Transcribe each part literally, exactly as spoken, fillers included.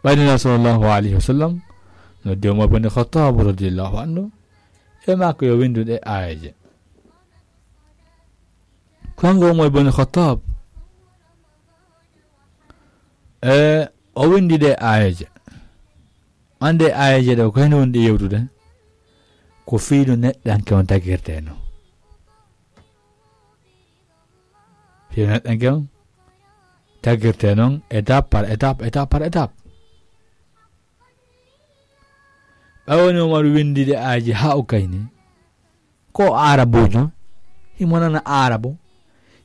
Ɓay Nelaaɗo sallallahu alayhi wa sallam noddi Umar bin Khattab radiyallahu anhu, e maako yo winndu ɗee aayeeje. Kanko Umar bin Khattab, e o winndi ɗee aayeeje. Annde aayeeje ɗe ko heen woni ɗe yewtude, ko fii no neɗɗanke on tagirtee no. Fii no neɗɗanke on tagirtee noon, étape par étape, étape par étape. Ɓay woni Umar winndi ɗee aayeeje haa o kayni, ko o aarabuujo, himo nana aarabu,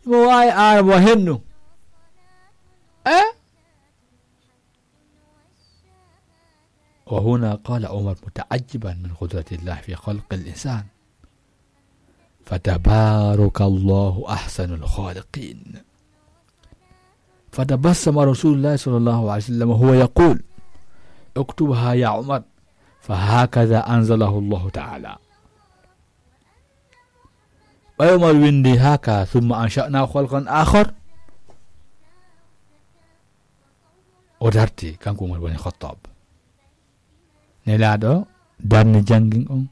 himo waawi aarabu a hennu. Eh? وهنا قال عمر متعجبا من قدرة الله في خلق الإنسان: "فتبارك الله أحسن الخالقين." فتبسم رسول الله صلى الله عليه وسلم وهو يقول: "اكتبها يا عمر، فهكذا أنزله الله تعالى." Ɓay Umar winndi haka: "ثم أنشأنا خلقا آخر." O darti, kanko Umar boni Khattab. Nelaaɗo darni janngin on.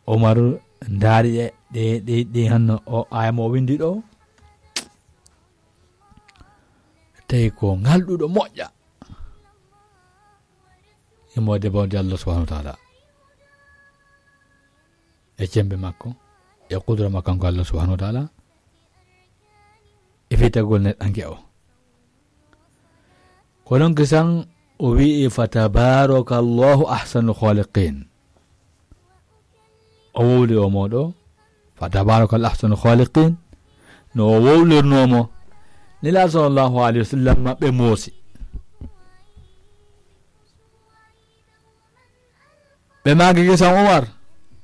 Umar ndaari ɗe, ɗe, ɗe, ɗe hanno o aaya mo o winndi ɗo. Tawi ko ngalɗuɗo moƴƴa. Imo debawde Allah subhanahu wa ta'ala. E cembe makko, e qudra makko kanko Allah subhanahu wa ta'ala. E fitagol neɗɗanke o. Ko ɗon kisan o wi'i: "Fatabarakallahu ahsanul khaliqin." O wowli o moɗo: "Fatabarakallahu ahsanul khaliqin." No o wowlirnoo mo, Nelaaɗo sallallahu alayhi wa sallam ɓe moosi. Ɓe maaki kisan Umar: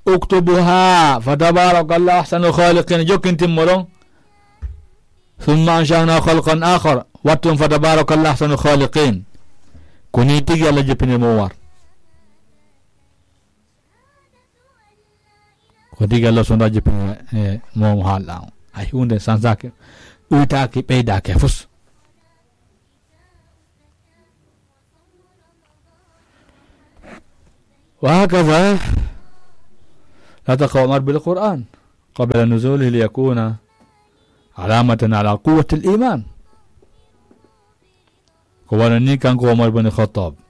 "Uktubuha, fatabarakallahu ahsanul khaliqin." Jokkintin mo ɗon. "Thumma ansha'na khalqan akhar." Wattun: "Fatabarakallahu ahsanul khaliqin." Ko ni tigi Allah jippini mo Umar. Ko tigi Allah sonda jippini, e, mo mo haalɗa on. Hay huunde sansaaki, ɗuytaaki, ɓeydaaki fus. وهكذا نطق عمر بالقرآن قبل نزوله ليكون علامة على قوة الإيمان. Ko wano ni kanko Umar bin Khattab,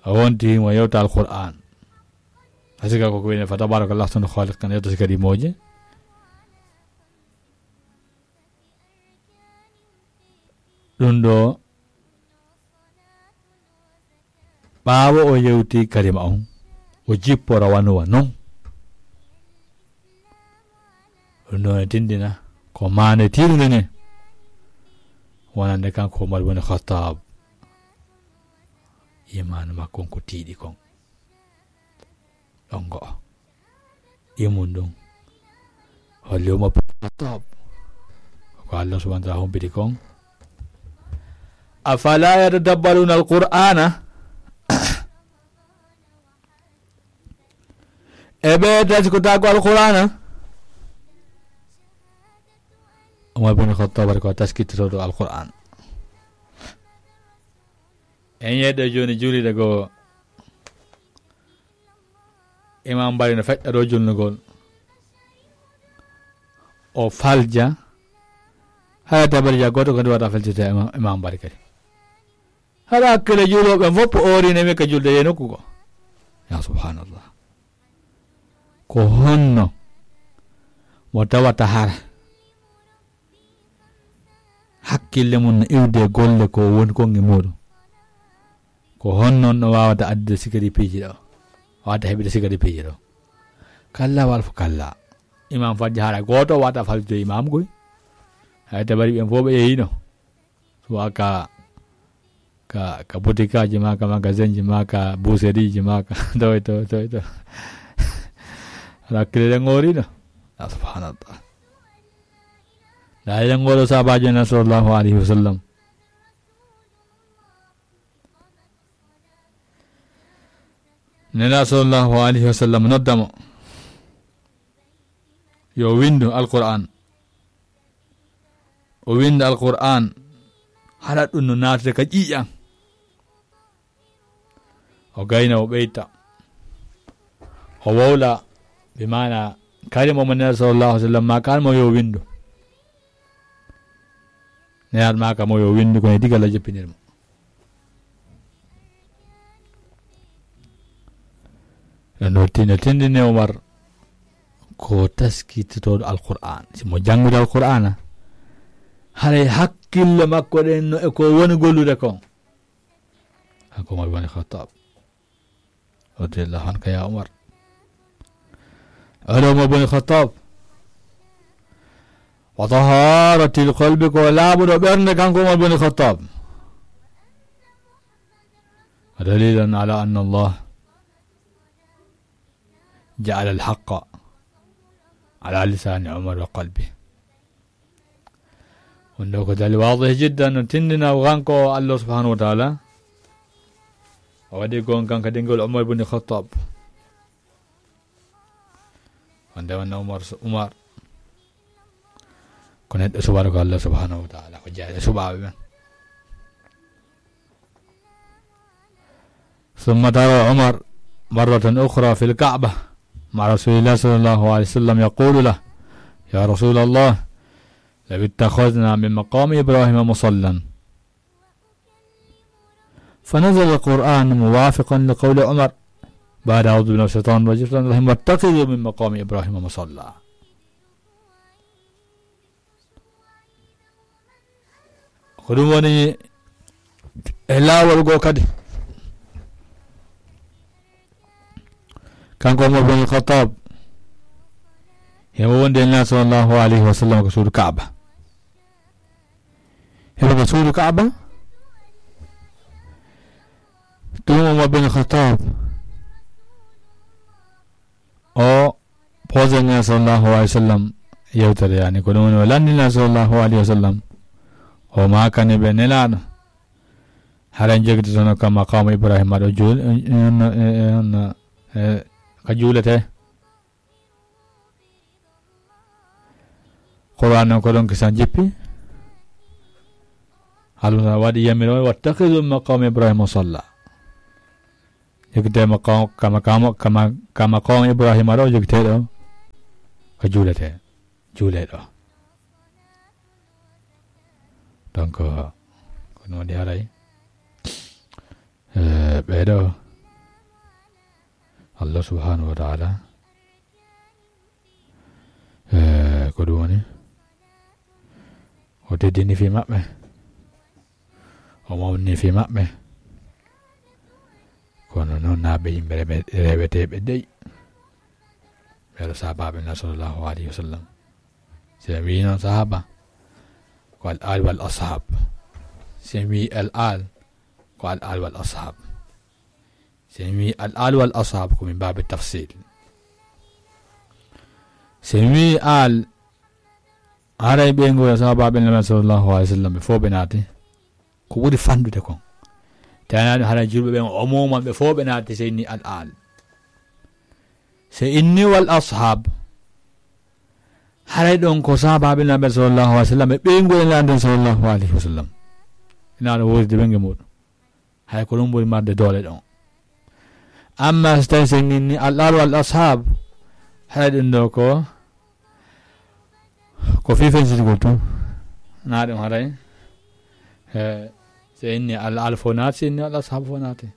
o wonti mo yewta Alqur'aan. Asika ko ko wiyetee: "Fatabarakallahu ahsanul khaliqin", yewta si kadi mooje. Ɗum ɗo, ɓaawo o yewti kalima on, o jippora wano wa non. Ɗum ɗo ne tindina ko maande tiiɗunde ne, wonande kanko Umar bin Khattab. Imaanu makko on ko tiiɗi kon. Ɗon go'o. Imum ɗum holli Umar bin Khattab ko Allah subhanahu wa ta'ala humpiti kon. "Afala yatadabbaruna al-Qur'ana?" E ɓe taskitaako Alqur'aana? Umar bin Khattab ko taskitotooɗo Alqur'aan. En yeeɗo jooni juulirde goo, Imam Bari no feƴƴa ɗo julnugol. O falja. Hara tabarja gooto ko ndi wata faltita Imam, Imam Bari kadi. Hara hakkille juulooɓe fof o oori ne mi ka julde e nokku goo. Ya subhanallah. Ko honno mo tawata hara hakkille mum no iwde golle ko woni kon e muuɗum? Ko honno no waawata addude sikari piiji ɗo? Waawata heɓude sikari piiji ɗo? Kalla wal fo kalla. Imam Fadji hara gooto waawata faljude imam goy. Hay tabari ɓen fof ɓe yehino. Suwa ka, ka, ka botikaaji ma, ka magasinji ma, ka boucherieji ma, ka toy, toy, toy, toy. Hakkille ɗen ŋoorino. Ya subhanallah. Ndaa eɗen ŋooro sahabaajo men sallallahu alayhi wa sallam. Nelaaɗo sallallahu alayhi wa sallam nodda mo yo windu Alqur'aan. O winda Alqur'aan. Haɗa ɗum no naatude ka ƴiiƴan. O gayna, o ɓeyta, o wowla, bi maana kalima mo Nelaaɗo sallallahu alaihi wasallam ma kan mo yo windu. Nelaaɗo ma ka mo yo windu, kono diga la joppinir mo. No tin-, no tindini Umar ko taskitotooɗo Alqur'aan. Si mo janngude Alqur'aana, haray hakkille makko ɗen no e ko woni gollude kon. Kanko Umar bin Khattab, radiyallahu anka ya Umar. Oɗo Umar bin Khattab, wa taharatil qalbi, ko laaɓuɗo ɓernde, kanko Umar bin Khattab. Dalilan ala anna Allah ja'ala al-haqqa ala lisani Umar wa qalbi. Ɗum ɗo ko dalil waadih jiddan, no tindina kanko Allah subhanahu wa ta'ala. O waɗi gonga kadi ngol Umar ibn Khattab. Wonde wonno Umar, Umar ko neɗɗo suɓaaɗo ko Allah subhanahu wa ta'ala, ko jeyaaɗo suɓaaɓe ɓen. ثم ترى عمر مرة أخرى في الكعبة مع رسول الله صلى الله عليه وسلم يقول له: يا رسول الله، لو اتخذنا من مقام إبراهيم مصلى. فنزل القرآن موافقا لقول عمر بعد أعوذ بالله من الشيطان الرجيم، بسم الله الرحمن الرحيم، واتخذوا من مقام إبراهيم مصلى. Ko ɗum woni e laawol goo kadi. Kanko Umar bin Khattab, himo wondi e Nelaaɗo sallallahu alayhi wa sallam ko suudu Kaaba. Himo ko suudu Kaaba. Ɗum Umar bin Khattab, o posé Nelaaɗo sallallahu alayhi wa sallam yewtere, yani, ko ɗum woni o lanndii Nelaaɗo sallallahu alayhi wa sallam. O maakani ɓe Nelaaɗo, hara en jogitotono ka maqaamu Ibrahima ɗo juul-, en, en, en, en, e, ka juuletee. Qur'aan on ko ɗon kisan jippi. Allah waɗi yamiro, "Wattakhidhu maqama Ibrahima musalla." Jogitee maqam, kama, kama, kama, kama maqam Ibrahima ɗo, jogitee ɗo ko juuletee, juulee ɗo. Donc, ko ɗum waɗi haray, eh, ɓee ɗo, Allah subhanahu wa ta'ala, eh, ko ɗum woni, o teddini fii maɓɓe, o mawni fii maɓɓe. Kono noon, naa ɓe yimɓe rewe-, reweteeɓe dey. Ɓee ɗo sahaabaaɓe Nelaaɗo sallallahu alayhi wa sallam. Si en wii noon sahaaba, ko al aal wal ashaab. Si en wii al aal, ko al aal wal ashaab. Si en wii al aal wal ashaab, ko min baabi tafsiil. Si en wii aal, haray ɓeyngu sahaabaaɓe Nelaaɗo sallallahu alayhi wa sallam ɓe fof ɓe naati. Ko ɓuri fanɗude kon. Tawi ɗum haray julɓe ɓen umuman ɓe fof ɓe naati, si en wii al aal. Si en wii wal ashaab, haray ɗon ko sahaabaaɓe Nelaaɗo sallallahu alayhi wa sallam e ɓeyngu Nelaaɗo sallallahu alayhi wa sallam. Ina ɗo woodi ɓeyngu muɗum. Hay ko ɗum ɓuri marde doole ɗon. Amma so tawi si en inni al aal wal ashaab, haray ɗum ɗo ko, ko fii fensitugol tun. Naa ɗum haray. Eh, si en inni al aal fof naati, si en inni al ashaab fof naati.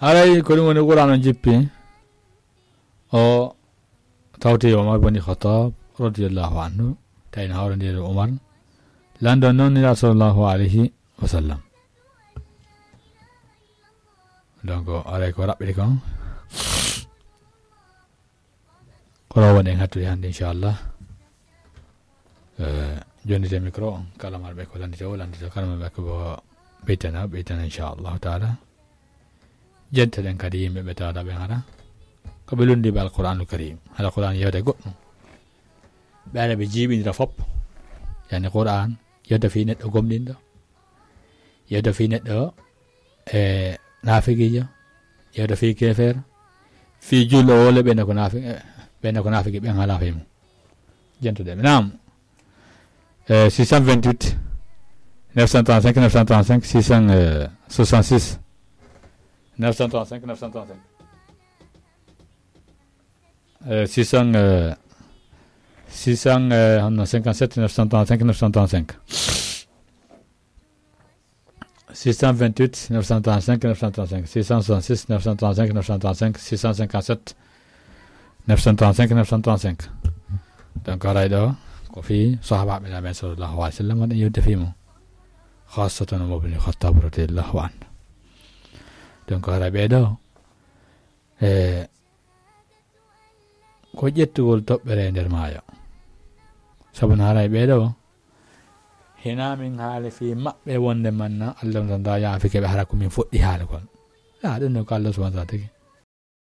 Haray ko ɗum woni Qur'aan on jippi. O tawti Umar bin Khattab radiyallahu anhu, tawi no hawrondiri e Umar, lanndo noon Nelaaɗo sallallahu alayhi wa sallam. Donc, haray ko raɓɓiɗi kon, ko ɗo woni en hattude hannde, inchallah. Eh, jonnite micro on, kala marɓe ko lanndito o, lanndito, kala marɓe ko ɓeytana, ɓeytana, inchallahu taala. Jetta ɗen kadi yimɓe ɓe tawata ɓen hara ko ɓe lunndiiɓe Alqur'aanul Kariim. Hara Qur'aan yewta goɗɗum. Ɓe ara ɓe jiiɓindira fop. Yani Qur'aan yewta fii neɗɗo gomɗinɗo. Yewta fii neɗɗo, e, naafiqiijo. Yewta fii keefeero. Fii julɗo walla ɓen ko naafi-, e, ɓen ko naafiki, ɓen alaa fii mum. Yentude mi naam. Eh, six cent vingt-huit, neuf cent trente-cinq, neuf cent trente-cinq, six cent soixante-six, neuf cent trente-cinq, neuf cent trente-cinq. Eh, six cents, eh, six cents, eh, honno, cinquante-sept, neuf cent trente-cinq, neuf cent trente-cinq. Six cent vingt-huit, neuf cent trente-cinq, neuf cent trente-cinq, six cent soixante-six, neuf cent trente-cinq, neuf cent trente-cinq, six cent cinquante-sept, neuf cent trente-cinq, neuf cent trente-cinq. Donc, haray ɗo, ko fii sahaabaaɓe men sallallahu alayhi wa sallam, waɗi yewte fii mum. Khassatan Umar bin Khattab radiyallahu anhu. Donc, haray ɓee ɗo, e, ko ƴettugol toɓɓere e nder maayo. Sabu no haray ɓee ɗo, hinaa min haali fii maɓɓe wonde manna Allah on tan da yaafike ɓe, hara ko min fuɗɗi haalugol. Ya, ɗum ne ko Allah subhanahu wa ta'ala tigi.